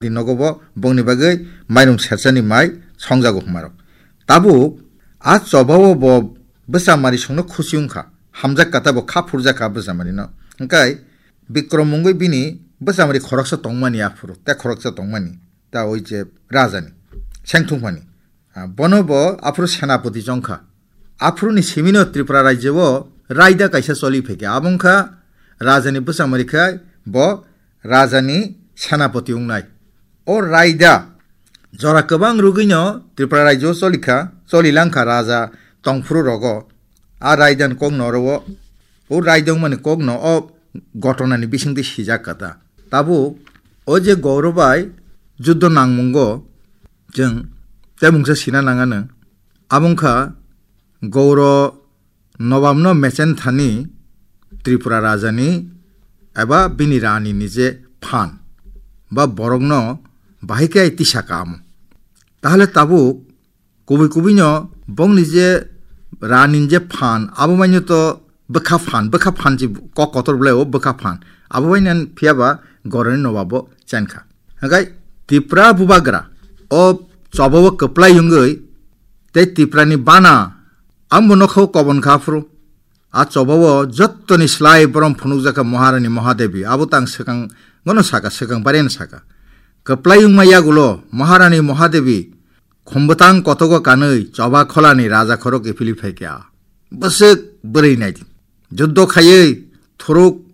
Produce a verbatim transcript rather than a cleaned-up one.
Di nogo bo bongni bagwi mairum serchani mai songjago hwnmarok. Tabuk a chobao bo bwchamari songno khusi wngkha. Hamjak kata bo kha phurjak kha bwchamarino. Hwnkhe Bikrom mungwi bini bwchamari khoroksa tongmani aphuru, tei khoroksa tongmani. Ta oi je rajani. Sengthungmani. Ah, bono bo aphuru senapati chongkha. Aphuruni simino Tripura rajyo o raida kaisa choli phaikha. Abo wngkha rajani bwchamari khai bo rajani senapati wngnai. O raida jora kwbang rwgwino Tripura rajyo o cholikha, choli langkha raja tongphuru rogo. A raidani kokno oro o, o raida wngmani kokno o gotonani bisingtwi sijak kha ta. Tabuk o je Gauro bai juddo nangmungo chwng tei mungsa sina nangano. Abo wngkha Gauro nobamno mechen thani Tripura rajani eba bini rani ni je phan ba borokno bahai khe tisa kamo. Tahole tabuk kubui kubui no bongni je rani ni je phan abo maino to bwkha phan, bwkha phan si kok kotor bwlai o bwkha phan. Abo bai nan phiya ba Gauroni nobabo chankha. Hwnkhe Tipra bubagra o chobao kwplai wngwi tei Tiprani bana ang bo nokha o kobon kha phuru. A chobao jottoni slai borom phunukjakha Maharani Mahadevi, abo tang swkang gono saka, swkang bareno saka. Kwplai wngma yagulo Maharani Mahadevi khumbwtang kotogo kanwi choba kholani raja khorok ephili phaikha. Bwswk bwrwi naidi. Juddo khaiwi thuruk